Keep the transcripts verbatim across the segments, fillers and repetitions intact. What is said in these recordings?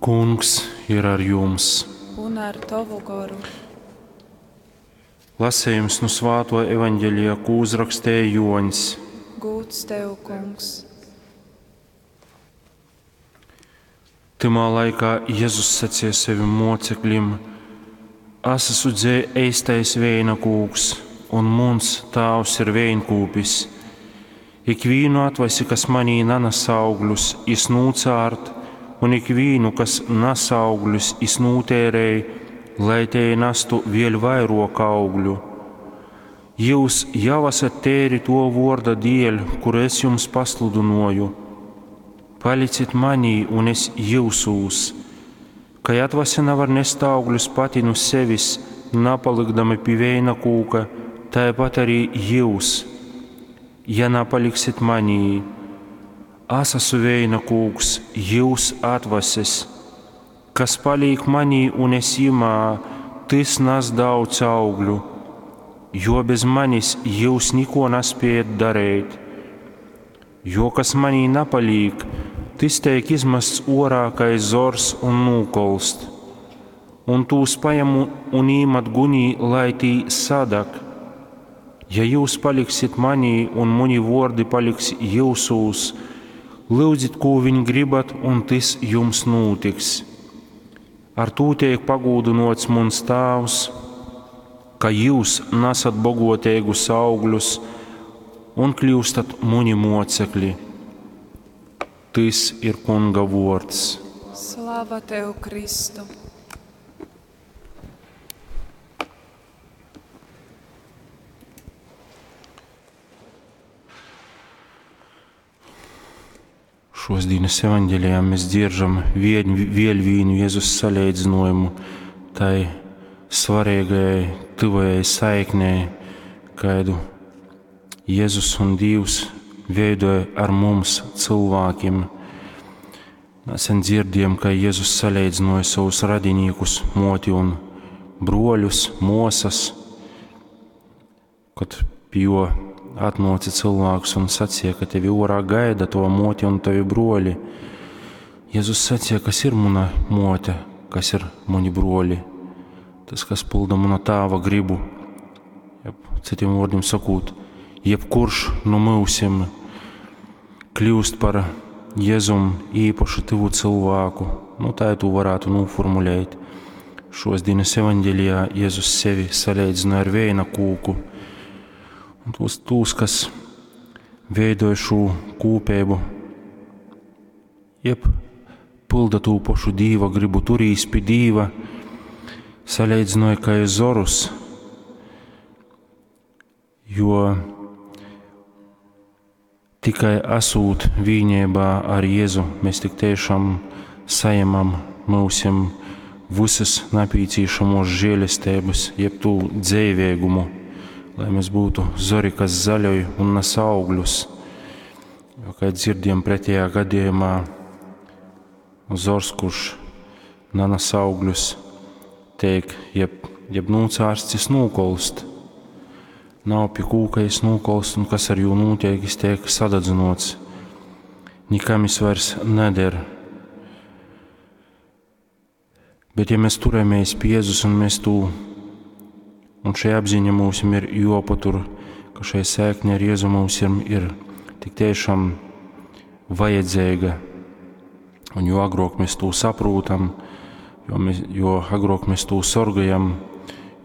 Kungs ir ar jums! Un ar tovu goru. Lasījums nu Svāto evaņģēlija, ko uzrakstēja Joņs. Gūds tev, Kungs! Tymā laikā Jezus sacīja sevim mocekļim: Es esmu dzē eistais veina kūks, un muns tāvs ir veinkūpis. Ikvīnu atvasi, kas manī nanes augļus, jis nūcārt, un ikvīnu, kas nes augļus, jis nūtērēj, lai te nestu vēl vairāk augļu. Jūs jau esat tēri to vorda dēļ, kuru es jums pasludināju. Palicit manī, un es jūsūs. Kai atvase nevar nest augļus pati nu sevis, napalikdami pie veina kūka, tāpat arī jūs, ja napaliksit manī. Es esmu veina kūks, jūs atvases. Kas paliek manī un es jimā, tys nes daudz augļu, jo bez manis jūs neko nespējat darīt. Jo kas manī napaliek, tys tiek izmests orā kā zors un nūkolst. Un tūs paņem un īmet gunī, lai tī sadag. Ja jūs paliksit manī un muni vordi paliks jūsūs, lūdzit, ko viņ gribat, un tys jums nūtiks. Ar tū tiek pagūdinots muns tāvs, ka jūs nesat bogotīgus augļus un kļūstat muni mocekļi. Tys ir Kunga vords. Slava tev, Kristu! Šos dienas evaņģēlijā mēs dzieržam vien, vēl vienu Jēzus salīdzinājumu tai svarīgajai, tuvajai saiknei, kādu Jēzus un Dievs veidoja ar mums, cilvēkiem. Nesen dzirdējām, ka Jēzus salīdzināja savus radinīkus, moti un broļus, mosas, kad pie jo atnāca cilvēks un sacīja, ka tevi orā gaida tava mote un tavi broļi. Jēzus sacīja, kas ir mana mote, kas ir mani broļi. Tas, kas pilda mana tāva gribu. Jeb, citiem vārdiem sakot, jebkurš no mūsim kļūst par Jēzum īpašu tuvu cilvēku. Nu, tā to varētu noformulēt. Šos dienas evaņģēlijā Jēzus sevi salīdzina ar vēja kūku. Un tos, tos, kas veidoja šo kūpību, jeb pilda tū pašu Dīva gribu, turīs pie Dīva, salīdzināja kā zorus, jo tikai esot vienībā ar Jēzu, mēs tik tiešām saņemam mūsim visas nepieciešamos žēlestības, jeb tū dzīvēgumu, lai mēs būtu zori, kas zaļoj un nes augļus. Jo, kā dzirdējam pretējā gadījumā, zors, kurš nenes augļus, tiek jeb, jeb nūcārsts, jis nūkolst. Nav pie kūka, jis nūkolst, un kas ar jū notiek, jis tiek sadadzinots. Nikam jis vairs neder. Bet ja mēs turamies pie Jēzus un mēs tū, un šī apziņa mums ir jopatur, ka šai sēkne ar Jēzu mums ir, ir tik tiešām vajadzīga. Un jo agrāk mēs to saprotam, jo, mēs, jo agrāk mēs to sorgajam,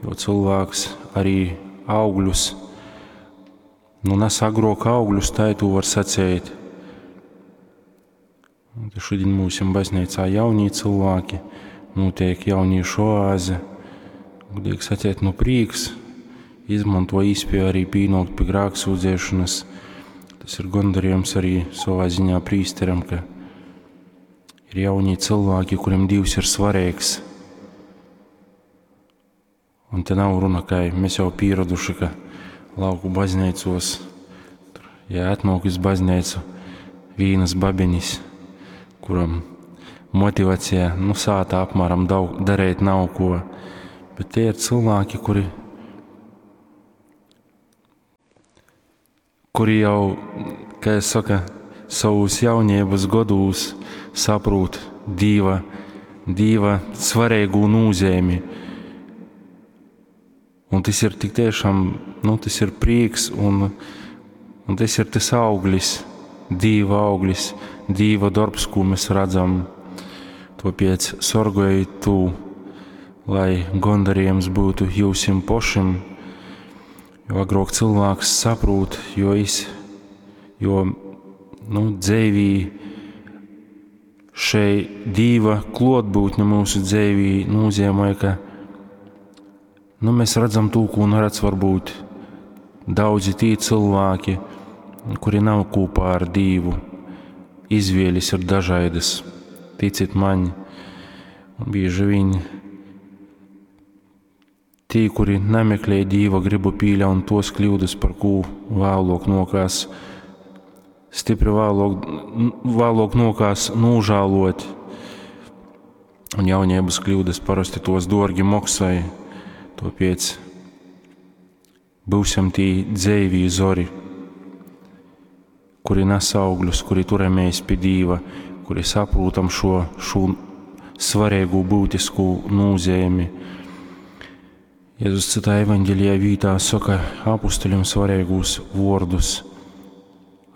jo cilvēks arī augļus, nu nes agrāk augļus, tā to var sacīt. Un te šodien mūsim baznīcā jaunie cilvēki, notiek jauniešu oāze. Gudīgi sacīt, nu prīks, izmanto īspēju arī pīnokt pie grēksūdzēšanas. Tas ir gandarījums arī savā ziņā prīsteram, ka ir jaunie cilvēki, kuriem Dievs ir svarīgs. Un te nav runa, ka mēs jau pieraduši, ka lauku baznīcos, tur, ja atnāk uz baznīcu vīnas babiņas, kuram motivācija, nu, sātā apmēram daudz darīt nav ko. Bet tie ir cilvēki, kuri, kuri jau, kā es saku, savus jaunības godūs saprot Dieva Dīva svarīgu nūzeimi. Un tas ir tik tiešām, nu, tas ir prieks un, un tas ir tas auglis, Dīva auglis, Dīva darbs, ko mēs redzam. Tāpēc sorgojiet tū, lai gondarījums būtu jūsim pošim, jo agrāk cilvēks saprūt, jo, is, jo nu, dzēvī šei Dīva klotbūtne mūsu dzēvī nozīmē, ka nu, mēs redzam to, ko neredz varbūt daudzi tī cilvēki, kuri nav kopā ar Dīvu. Izvēles ir dažādas, ticit man, un bieži vien tī, kuri nemeklē Dīva gribu, pieļaun tos kļūdas, par ko vēlāk nokās, stipri vēlāk, vēlāk nokās nožēlot. Un jaunības kļūdas parasti tos dārgi maksāja. Tāpēc būsim tī dzēvī zori, kuri nes augļus, kuri turamies pie Dīva, kuri saprotam šo, šo svarīgu būtisku nozīmi. Jēzus citā evaņģēlijā vītā saka apustuļiem svarīgus vārdus.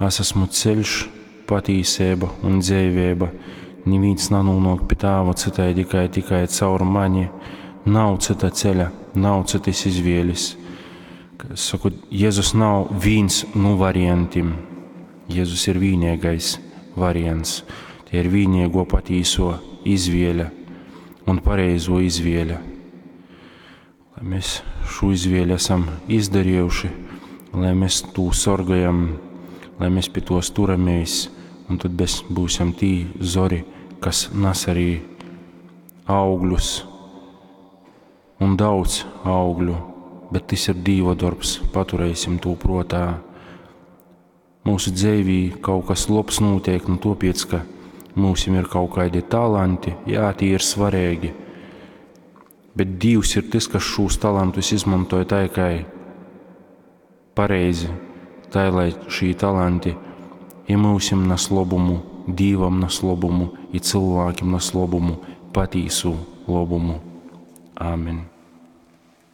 Es esmu ceļš, patīsība un dzīvība. Neviens nenonāk pie tāva citai tikai, tikai caur mani. Nav cita ceļa, nav citas izvēles. Es saku, Jēzus nav viens no variantiem. Jēzus ir vienīgais variants. Tie ir vienīgo patīso izvēle un pareizo izvēle. Lai mēs šo izvēli esam izdarījuši, lai mēs to sorgājam, lai mēs pie tos turamies, un tad mēs būsim tī zori, kas nes arī augļus un daudz augļu, bet tas ir Dīva darbs, paturēsim to prātā. Mūsu dzīvī kaut kas labs notiek, nu tāpēc, ka mums ir kaut kādi talanti, jā, tie ir svarīgi. Bet Dievs ir tas, kas šos talantus izmantoja tā, kā pareizi, tā, lai šī talanti i mūsim nes labumu, Dievam nes labumu, i cilvēkiem nes labumu, patīsu labumu. Āmen.